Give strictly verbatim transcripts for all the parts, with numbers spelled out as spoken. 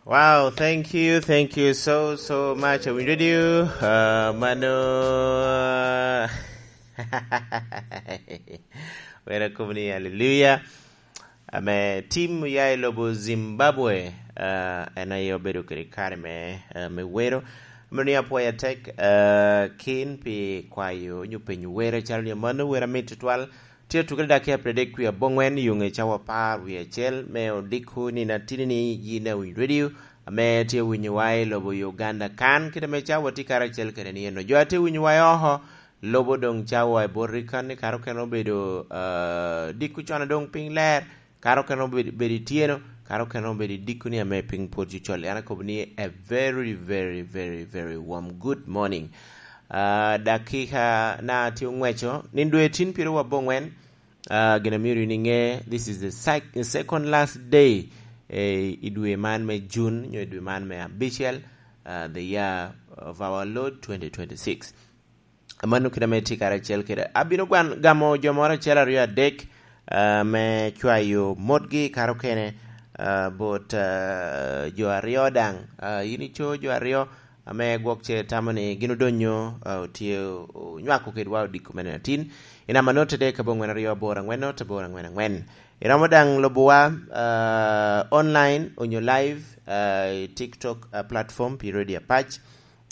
Wow, thank you, thank you so, so much. Awinyo radio, uh, mano. Wera kobni, hallelujah. Ame tim oya i lobo Zimbabwe, uh, en aye obedo kede kare me, uh, me wero. Mano ni apwoyo atek, uh, kin pi kwayo nyo penyo were, calo ni mano wera mit tutwal. Tye atuke dakiya apar adek wie aboŋwen, yuŋe cawa apar wie acel, me odiko ni natini ni yin awiny radio, ame tye winyowa i lobo Uganda kan, kite me cawa tye karacel kede ni eno. Jo a tye winyowa i oko, lobo doŋ cawa i bot kan, ni kare okene obedo, ah, diko con a doŋ piny ler, kare okene obedo, bedo ityeno, kare okene obedo idiko ni ame piny pwod cocol. An akobo ni a very, very, very, very warm good morning. Ah, dakika na tye oŋweco, nindo etin pyeraryo aboŋwen, ah, gin amyero in iŋe, this is the sec-, second last day, eh, i dwe man me June, nyo i dwe man me abicel, ah, the year of our Lord twenty twenty-six. Mano kite ame tye karacel kede. Abino gwan-, gamo jo moro acel, aryo, adek, ah, me cwayo motgi kare okene, ah, bot, ah, jo aryo daŋ. Ah, in ico jo aryo, ame gwok ce tamo ni gin odonyo, ah, otye onywako kedwa odiko mene atin. I namba note dek aboŋwen aryo aboro aŋwen note aboro aŋwen aŋwen. Iromo daŋ lubowa, ah, online onyo live, ah, i TikTok, ah, platform pi Radio Apac.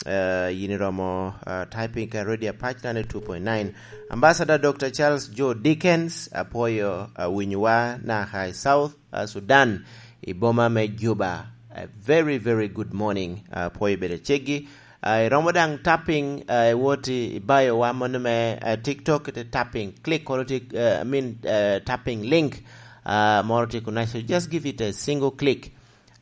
Ah, yin iromo, ah, typing ka Radio Apac ninety-two point nine. Ambassador Doctor Charles Joe Dickens, apwoyo, ah, winyowa naka i South, ah, Sudan, i boma me Juba. A very, very good morning. Ah, apwoyo bedo ceggi. Ah, iromo daŋ tapping, ah, iwot i, i bio wa mano me, ah, TikTok, ite tapping, click kono tye, ah, I mean, ah, tapping link, ah, moro tye kuno. So just give it a single click.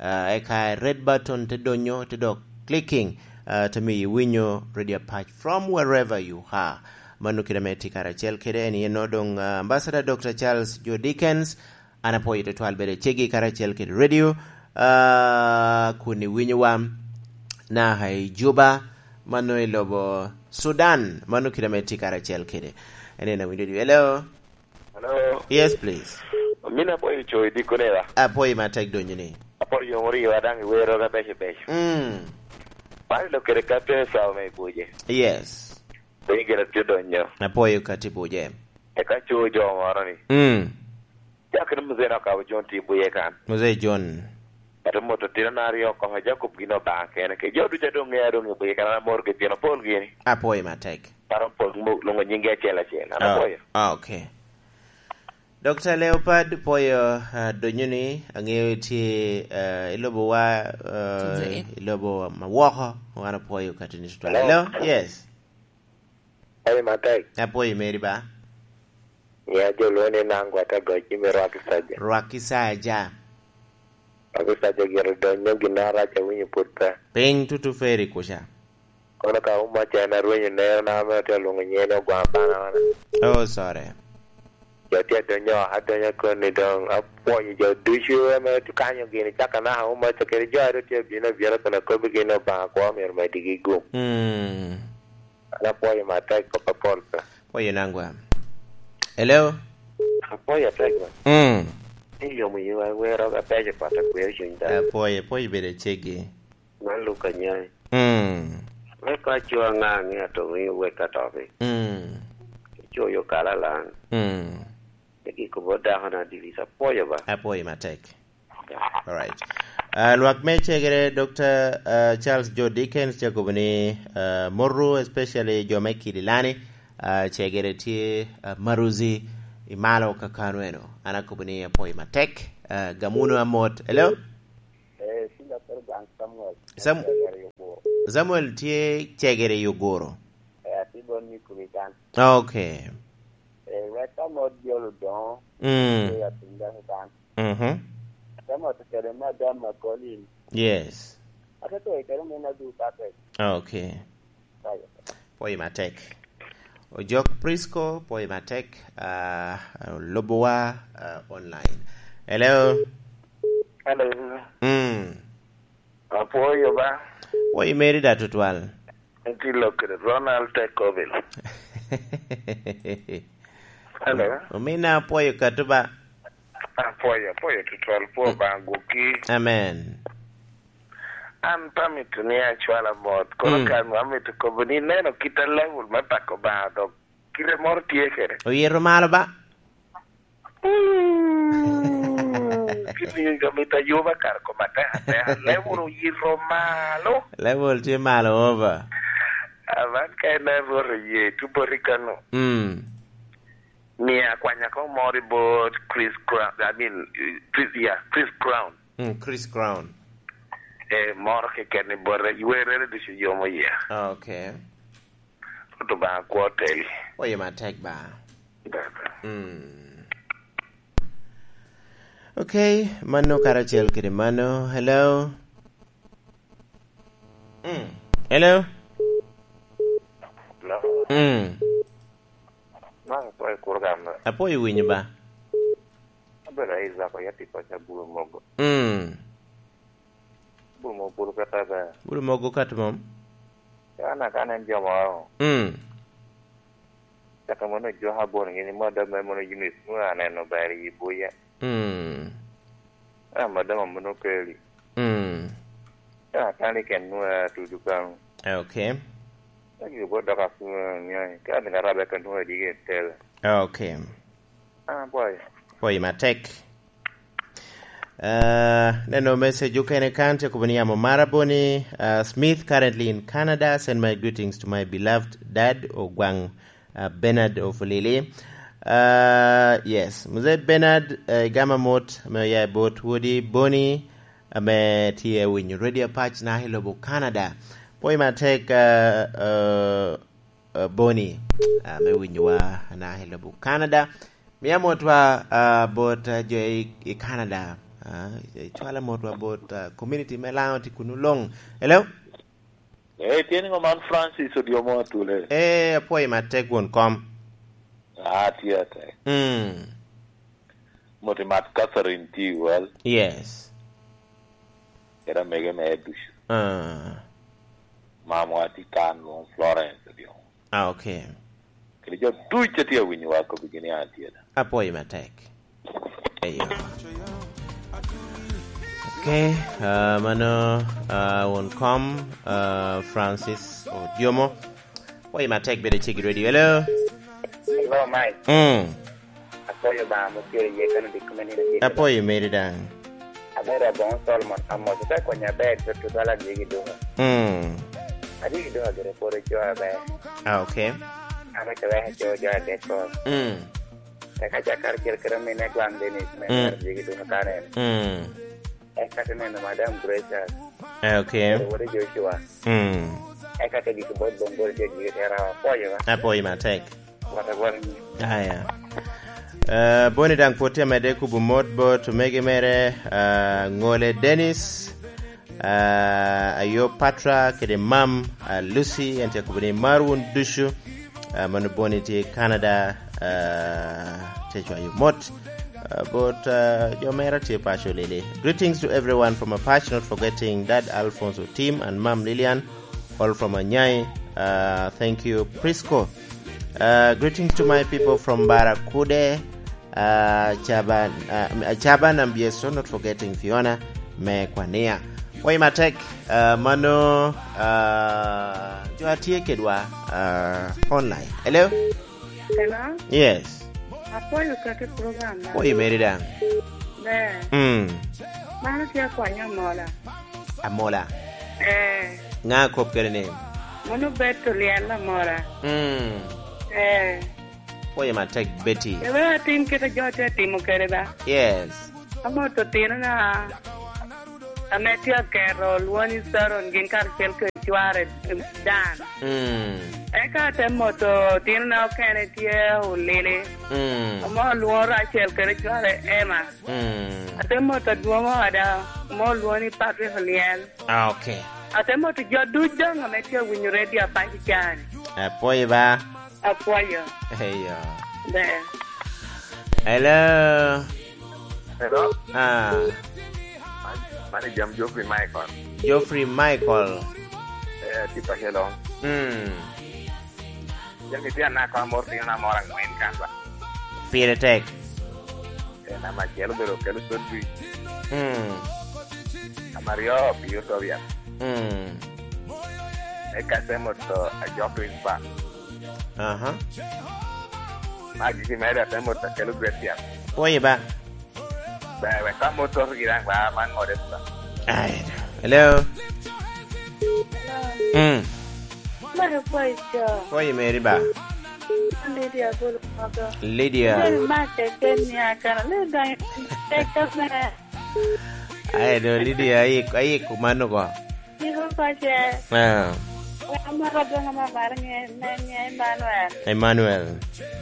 Ah, eka red button te donyo, te dok clicking, ah, te miyo iwinyo Radio Apac from wherever you are. Mano kite ame tye karacel kede en yen doŋ, ah, Ambassador Doctor Charles Joe Dickens, an apwoyo tutwal bedo ceggi karacel kede radio, ah, kun iwinyo wa naka i Juba, mano i lobo Sudan, mano kite ame tye karacel kede. En en awinyo di. Hello? Hello? Yes, please. Min apwoyo co i dikone ba? Apwoyo matek donyo ni. Apwoyo yomoro iwa daŋ iwero ka beco beco. Mm. Man ilo kede ka tye sawa me ibuje. Yes. Piny gire tye donyo. Apwoyo ka tye buje. Eka co jo moro ni. Mm. Cakere Muzee na okabo John tye i buye kan. Muzee John. Ate moto tino na aryo oko, Jacob gin Obaŋa kene. Ke jo ducu a doŋ ŋea doŋ i buye kan, an amor ki tino pol gini. Apwoyo matek. Paro pol mo-, luŋo nyingi acel acel. An Oh, apwoyo. Ah, okay. Doctor Leopard, pwoyo, ah, donyo ni, aŋeyo itye, ah, i lobowa, ah, Muzee. I lobo ma woko, wan apwoyo katini tutwal. Hello? Hello? Yes. Pwoyo matek. Apwoyo meri ba. Ya jo lwongo ni Nangwa Tagoc, me Rwaki Saja. Rwaki Saja. Rwaki Saja gire donyo, gin arac awinyo pwod pe. Piny tutu feri kuca. Kono ka Umaca en arwenyo nero na ame otye alwoŋo nyen ni Ogwaŋ Bana wana. Oh, sorry. Jo tye adonyo, adonyo koni doŋ apwonyo jo ducu ame tye kanyo gini, caka naka Umaca kede jo a ru tye abino abina kun akobbi gini Obaŋa kwo myero medigi gum. Mm. An apwoyo matek kop apol pe. Pwoyo nangwa. Hello? Apwoyo atek ba. Mm. Ni yomo yiwa wero ka beco pat akweo cuny dano. Apwoyo, apwoyo bedo ceggi. Man Luka Nyai. Mm. Me paco aŋa aŋe ato ŋe wek atoki. Mm. Icoyo kala lan. Mm. Egi kobo dako na divis apwoyo ba. Apwoyo matek. All right. Ah, lwak me cegere, Doctor, ah, Charles Joe Dickens, tye kobo ni, ah, moto, especially jo me Kidilani, ah, cegere tye, ah, maruzi i malo kakano eno. An akobo ni apwoyo matek. Ah, gam wunu amot. Hello? Eh, Samuel. Sam-, Samuel tye cegere i Ogoro. Eh, atye bot ni kubi kan. Okay. Eh, wek ka mot jolo doŋo, mm, tye atinda kan. Mhm. Ka mot kede madam ma Colin. Yes. Ate to kede min adu Patrick. Okay. Pwoyo matek. Ojok Prisco, pwoyo matek, ah, lubowa, ah, online. Hello? Hello. Mm. Apwoyo ba. Pwoyo meri da tutwal. Nti lok kede Ronald Tekobil. Hello? Omina apwoyo katuba. Apwoyo, apwoyo tutwal, pwo ba gwokki. Amen. An pe amito ni acwala mot, kono Mm. ka nwa amito kobo ni neno kit a level me pako Obaŋa dok kite moro tye kede. Oyito malo ba? Mm, kit ni amito ayuba kare kom atek atek. Level oyito malo. Level tye malo over. Aman ka en a Rwot oye, tye boti kano. Mm. Mia akwanya ko moro i bot Chris Crown, I mean, Chris, yeah, Chris Crown. Mm, Chris Crown. Eh, moro keken i bote, i werrere ducu yomo iye. Ah, okay. Rwot Obaŋa kwo teli. Oye matek ba. Baba. Mm. Okay, mano karacel kede mano. Hello? Mm. Hello? Hello? Mm. Man apwoyo kuro gam. Apwoyo winyo ba. Abedo Isaac Oyati paco Abulu Mogo. Mm. Abulu Mogo Bulu kata ber. Bulu Mogo kat mom. An aka nen jo moro. Mm. Caka mono ojwaka bot gini, mono dok mere mono unit, mono aneno ber i buya. Mm. Ah, madam amono keli. Mm. Ah, kani ken nwa tudu kan. Ah, okay. Agi bo doka kuma nyai. Ka ni karabe kan nwa di gen tel. Ah, okay. Ah, boy. Boy matek. Ah, neno message okene kan, te kobo ni amo mara boni, ah, Smith, currently in Canada. Send my greetings to my beloved dad, Ogwang, ah, Bernard of Lili. Ah, yes, Mzee Bernard, eh, igama mot, ame oya i bot wodi Boni, ame tye winyo Radio Apac na i lobo Canada. Pwoyo matek, ah, ah, ah, Boni, ah, me winyowa na i lobo Canada. Mia motwa, ah, bot, ah, jo i, i Canada. Ah, icwala motwa bot, ah, community me Lango tye kunu luŋ. Hello? Eh, tye niŋo man Francis Odiomo Atule? Eh, apwoyo matek won kom. Ah, tye atek. Mm. Moti mat Catherine T. Well. Yes. Kede amege mere ducu. Ah. Mamwa tye kan lwong Florence Odiomo. Ah, okay. Kede jo duc a tye awinyowa kobbi gini an tye da. Apwoyo matek. Eyo. Okay, ah, mano, ah, won kom, ah, Francis Odiomo. Apwoyo matek bedo cik i radio. Hello? Hello, Mike. Mm. Apwoyo ba mo kere ye kano dik kome nino kere. Apwoyo meri daŋ. Abedo aboŋo Solomon Amos, ite konya aber, tutwal adwogi duka. Mm. Adwogi duka gire pwod oco aber. Ah, okay. An ocobe aco jo adek ko. Mm. Eka cakar cel kede mine gwaŋ Dennis, me Mm. Adwogi duka kare. Mm. Eka te neno Madam Gracious. Eh, okay. Kede wode Joshua. Mm. Eka te gik bot Bongol, te gik te rawa. Apwoyo ba. Apwoyo matek. Wata gwal ni. Aya. Eh, Boni daŋ pwod tye amedde kubo mot bot omege mere, ah, Ŋole Dennis, ah, Ayo Patra, kede mam, ah, Lucy, en tye kubo ni mar wun ducu, ah, mano Boni tye Canada, ah, tye cwayo mot, ah, bot, ah, jo mera tye paco lili. Greetings to everyone from Apac, not forgetting Dad Alfonso Tim and Mam Lilian. All from Anyai. Uh, thank you, Prisco. Uh, greetings to my people from Barakude, uh, Chaban, uh, Chaban and Bieso, not forgetting Fiona, me Kwania. Wai matek, uh, mano, uh, jo a tye kedwa, uh, online. Hello? Hello? Yes. Apwoyo kake program na. Apwoyo meri daŋ. Ber. Mm. Mano tye akwanyo Amola. Amola. Eh. Ŋa kop kede ni? Mano Betty Lyel Amola. Mm. Eh. Apwoyo matek, Betty. Ebe atim kite jo tye atimo kede ba? Yes. Amoto otino na. Ame tye aketo lwoni Sharon gin karacel kede cware, Dan. Mm. Eka ate moto otinona okene tye Olili. Mm. Ame olwoŋo Rachel kede cware Emma. Mm. Ate moto adwoŋ oda, ame olwoŋo ni Patrick Lyel. Ah, okay. Ate moto jo duc daŋ ame tye awinyo radio Apac i can. Apwoyo ba. Apwoyo. Eyo. Ber. Hello. Hello? Ah. Man, man i jam Geoffrey Michael. Geoffrey Michael. Eh, tye pa Helong. Mm. Jam itye anaka moro tino na moro angwen kan ba. Pire tek. Eh, nama acel obedo kelo Sodri. Mm. Nama aryo, Pio Tobias. Mm. Eka atemo to ajok i ba. Aha. Ma gigi mere atemo to kelo gwet yat. Pwoyi ba. Be, be, ka motor gi dang ba, man ŋode ba. Ai, hello. Mm. Maro pwoyi co. Pwoyi meri ba. Lydia Bulu Mogo. Lydia. Lydia ma keken ni akana. Lydia keken me. Ai, do Lydia, ayik, ayik kumano ko. Yiko pace. Ah. Wan amaro adwoŋ ame amaro ŋe, me ŋe Emmanuel. Emmanuel.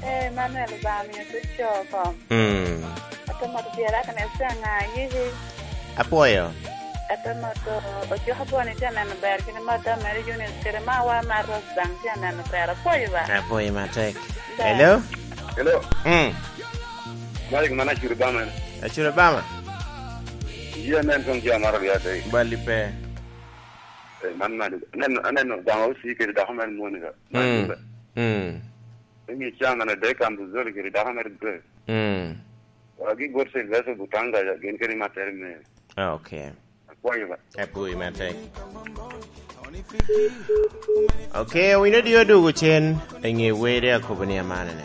Eh, Emmanuel Obanga omiyo tye co oko. Mm. Ate moto dyere akene caŋa yiki. Apwoyo. Ate moto ojoko bwoni tye aneno ber, kene madam mere Eunice kede mawa Marcos daŋ tye aneno ber. Apwoyo ba. Apwoyo matek. Ber. Hello? Hello. Mm. Malik, man Acuri Bama. Acuri Bama? Yie anen kong jo maro ria te. Bali pe. Eh, man Malik. Aneno, aneno Obanga osi kede dako mere Monica. Mm. Malik. Mm. Emi cam ane dek Ambuzoli kede dako mere Grace. Mm. Wa gi got Sylvester Butanga, gin kede matere me. Ah, okay. Apwoyo ba. Apwoyo matek. Okay, owinyo dio dugu cen, i ŋe wede akobo ni amanene.